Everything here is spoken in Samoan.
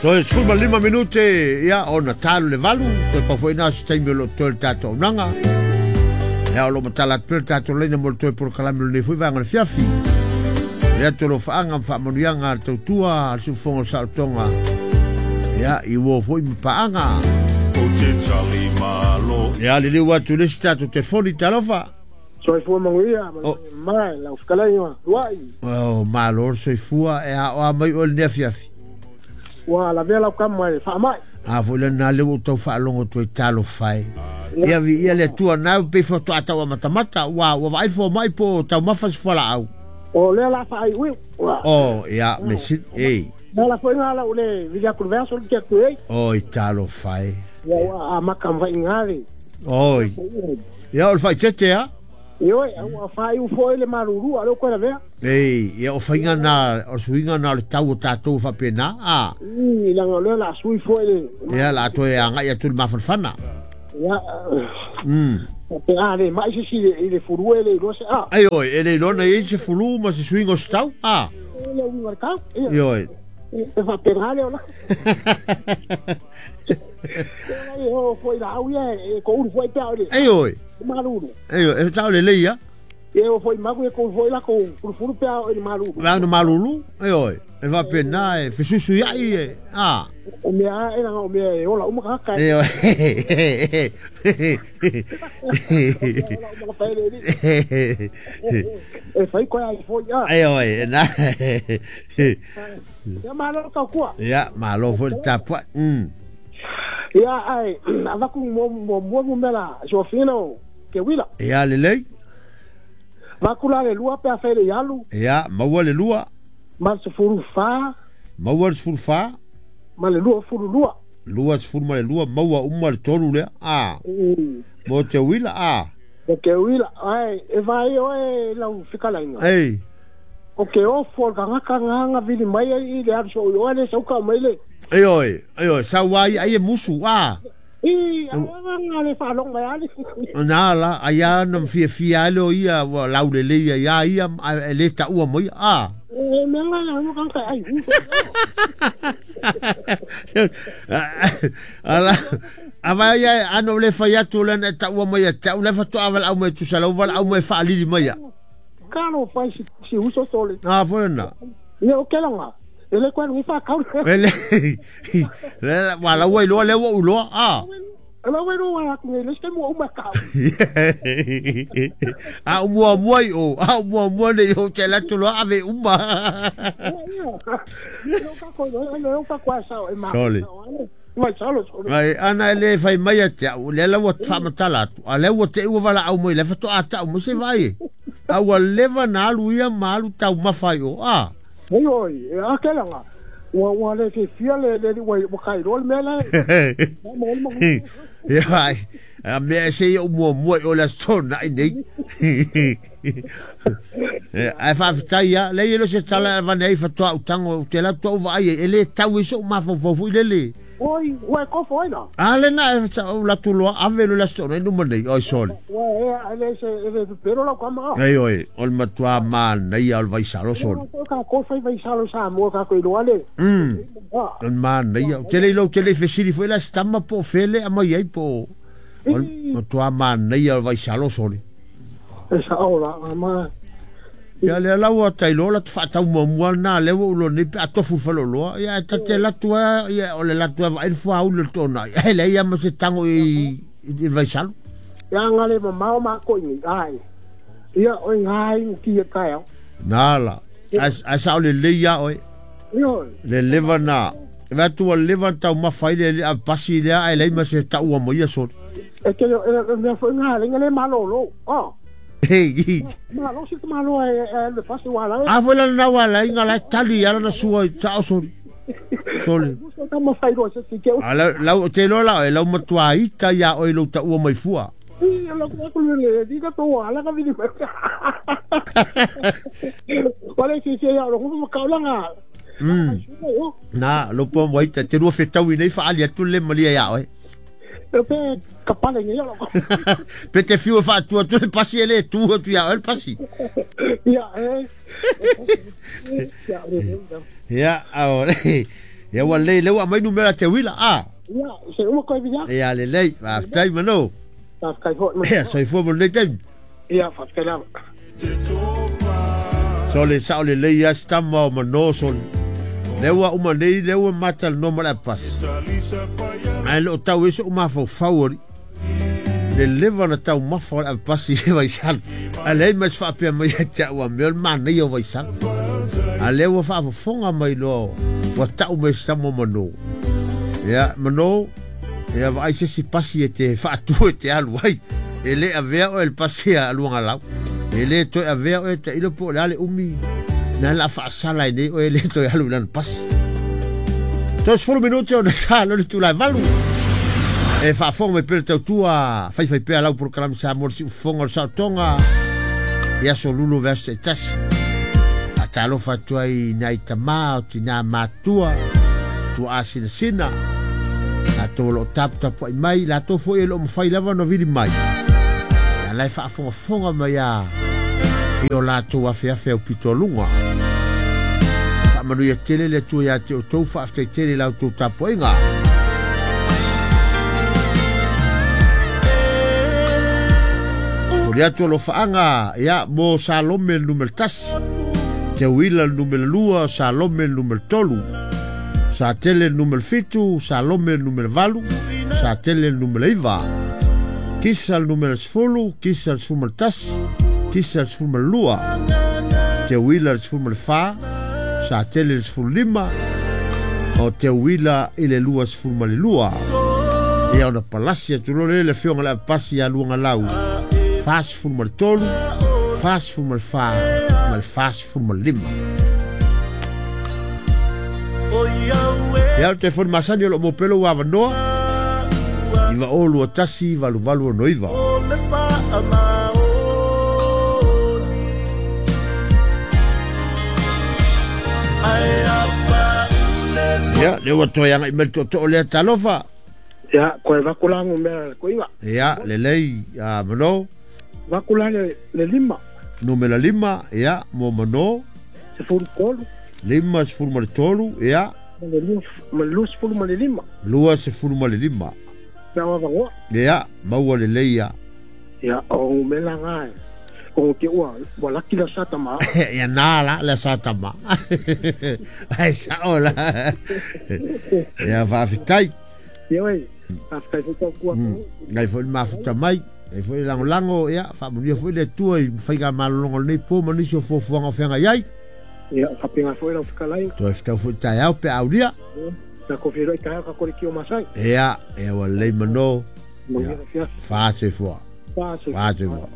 Toe 15 minute ia ona talu le 8, toe pau foi na se taimi o lo o toe le tatou auaunaga. Ia o lo o matala atu pea le tatou laina mo le toe polokalame o lenei foi vaega o le fiafi. Le atu o lo faaga ma faamanuiaga a le tautua a le siufofoga o le saolotoga. Ia, i uo foi ma paaga. Ou te tali malo. Ia, liliu atu le isi tatou telefoni, talofa. Soifua manuia, Oh. mai lau fetalaiga Luai. Oh, malo le soifua e aoa mai oe lenei afiafi. Ua lavea lau kama e faamai. A foi lena lea ua ou tau faalogo atu ai talofa e. Ia viia le Atua na pei faatoa tau amatamata ua vaai le fomai po o taumafa se fualaau. O lea la faaiuiu. Ua. O ia me si e. Na la foi ngā lau le vili aku le veaso le te atu ei. Oi talofa e. Ia ua amaka mwai ngā le. Oi. Ia o le faitete a. Ioe, ua faaiu foi le malulu a leo koe lavea. Ei, ia o faiga na, o suiga na o le tau o tatou faapena, a. I langa o lea la sui foi le. Ia la toe agai atu le mafanafana. Ia. Pe a le mai se si i le fulu e le iloa se a. Ai oi, e le iloa na i ai se fulu ma se suiga o se tau, a. E le uiga o le tau. Ioe. E faapena lea o la. E o foi la au ia e ko uru foi pe a o le. Ai oi. Malulu. Ai oi, e tau le lei ia. E o foi maku e ko foi la ko fulu pe a o le malulu. Vau na malulu, ai oi. E faapena e fesusu iai e, a. O mea e langa o mea e ola uma kaka. E oi. Ola uma ka pele ni. E fai koe ai foi a. Ai oi, e na. Ia malo tau kua. Ia, malo foi le tapuai. Ia ai, avaku mo mo mo mo mela sofina o ke wila. Ia lelei. Vaku la le lua pe a fai le ialu. Ia, maua le lua. Ma se furu fa. Maua le sefulu fa. Ma le lua fulu lua. Lua sefulu ma le lua, maua uma le tolu lea. A. Mo te wila, a. O ke wila, ai, e vai oe lau fikalainga. Ei. O ke ofo o le kangaka nganga vili mai ai i le alu so oe le sauka mai le. Ei oi, ei oi, sau ai ai e musu, a. I, a le whaalong mai ali. Nā la, ai a na fia fia ai leo ia, ua laule le ia, ia ia, e le taua mai, a. E mea nga la nga kanga ai u. Ala, a vai ia, ano le fai atu le na taua mai a tau, le whatoa wala au mai tusa, lau wala au mai whaalili mai a. Kalo fai si uso sole. A, fole na. Ia o ke langa. E le koe nui whakau. E le, le, wa lau ai loa, le ua uloa, a. Lau ai loa aku nei, le se mua uma kau. A umua mua i o, a umua mua nei o te latu loa ave uma. Sole. Mai salo, sole. Mai, ana e le fai mai a te au, le lau ua whaamatala atu, a le ua te ua wala au mai, le whatoa a tau, mo se vai e. A ua leva na alu ia ma alu tau mawhai o, a. Hei oi, e a ke langa. Ua ua le te fia le le ua ua kai rol me la. Ia ai, a mea e se ia umua mua i o le aso tona i nei. Ai whaafetai ia, le ia lo se tala e vane ai whatoa utango, te lau toa uva ai, e le tau e so mawhau fui lele. Oi, ua e kofo ai la. A le na e whata o latu loa, ave lo le aso tona i numa nei, oi sole. Ua e le se e le pero lau kama. Ei oi, o le matua māna ia o le vaisalo sole. O ka kofo i vaisalo sa mua ka koe loa le. O le māna ia, te lei lau te lei fesili foi la stama po fele a mai ai po. O le matua māna ia o le vaisalo sole. E sa o la, ma. Ia le lau a tai loa la te whaatau mua mua nā lewa ulo nei pe atofu whalo loa. Ia e tate latu a, ia o le latu a vaai le fua ule le tōna. Ia hele ia ma se tango i le vaisalo. Ia ngā le mamao ma ko ingi, ai. Ia o ngā i ki e kai au. Nā la, ai sa o le lei ia oe. Ia. Le lewa nā. E vea tua lewa tau mawhai le a pasi lea ai lei ma se taua mo ia sori. E te e mea foi ngā lenga le malolo. Oh. Hey. Malo si te malo e le pasi wala. A foi la na wala inga la tali ala na sua i tao sori. Sori. Ka ma fai ro se si ke. A la lau te lo la e lau matua ita ia oi lo taua mai fua. I la ko le di ka to wala ka vili. Wala si si ia ro ko ka langa. Na lo po mo ita te rua whetau i nei whaali atu le malia ia oe. E pe kapale ngi lo. Pe te fiu whaatua tu le pasi ele tu atu ia oe le pasi. Ia e. Ia ao. Ia ua lelei lea ua aumai numera te uila a. Ia, se uma koe via. Ia lelei, faafetai Mano. Faafetai foi. Ia, soifua mo lenei taimi. Ia, faafetai lava. Sole sao lelei lava si tama o Mano sole. Lea ua uma nei, lea ua matalanoa ma le apasi. Ae le o tau ai so'u mafaufau alii. Le leva na taumafa o le avepasi i Vaisala. Ae leai ma se faapea mai ia te au a mea o le manaia o Vaisala. A lea ua faafofoga mai loa ua tau mai e si tama o Mano. Ia, Mano, ia vaai se isi pasi e te faatu e te alu ai. E le avea oe e le pasi a Luagalau. E le toe avea oe tailo po o le a le umi na la faasala ai nei oe e le toe alu i lana pasi. 30 minute ona ta lo le itula e 8. E faafofoga mai pea le tautua faifai pea lau polokalame Samoa le siufofoga o le saotoga i aso lulo vaiaso taitasi. Faatalofa atu ai i nai tama o tinā matua, tuaa sinasina, latou o lo o taputapuai mai, latou foi e le o mafai lava ona vili mai, a la e faafogafoga mai a i o latou afeafe aupito luga. Faamanuia tele le Atua ia te outou, faafetai tele i la outou tapuaiga. Momoli atu alofaaga ia mo Salome le numera 1, Teuila le numera 2, Salome le numera 3, Satele le numera 7, Salome le numera 8, Satele le numera 9, Kisa le numera 10, Kisa le 11, Kisa le 12, Teuila le 14, Satele le 15, o Teuila i le 22. Ia ona palasi atu loa lea i le afioga i le Avepasi ia Luagalau, 43, 44 ma le 45. Ia, o le telefoni masani o lo o maua pea lou avanoa, 9021 8869. Ia, lea ua toe agai mai le tootoo lea, talofa. Ia, koe vaku la numera le koiva. Ia, lelei, a Mano. Vaku la le, le lima. Numera lima, ia, mo Mano. 13. Lima, 13, ia. Ma le lua, ma le 25. 25. Pea o avanoa. Ia, maua lelei ia. Ia, o numera nga e. O te ua, ua laki la sa tama. Ia nā la, le sa tama. Ai sao la. Ia, faafetai. Ia oi, faafetai foi tau kua. Ngai foi le mafuta mai, ngai foi le lagolago, ia, faamanuia foi le Atua i faigamalologa o lenei po ma nisi o fuafuaga o feagai ai. Ia, faapena foi lau fetalai. Toe fetau foi taeao pe a aulia. Tatou feiloai taeao ka kore ki o Masai. Ia, ia ua lelei mano. Manuia le afiafi. Fa soifua. Fa soifua. Fa soifua.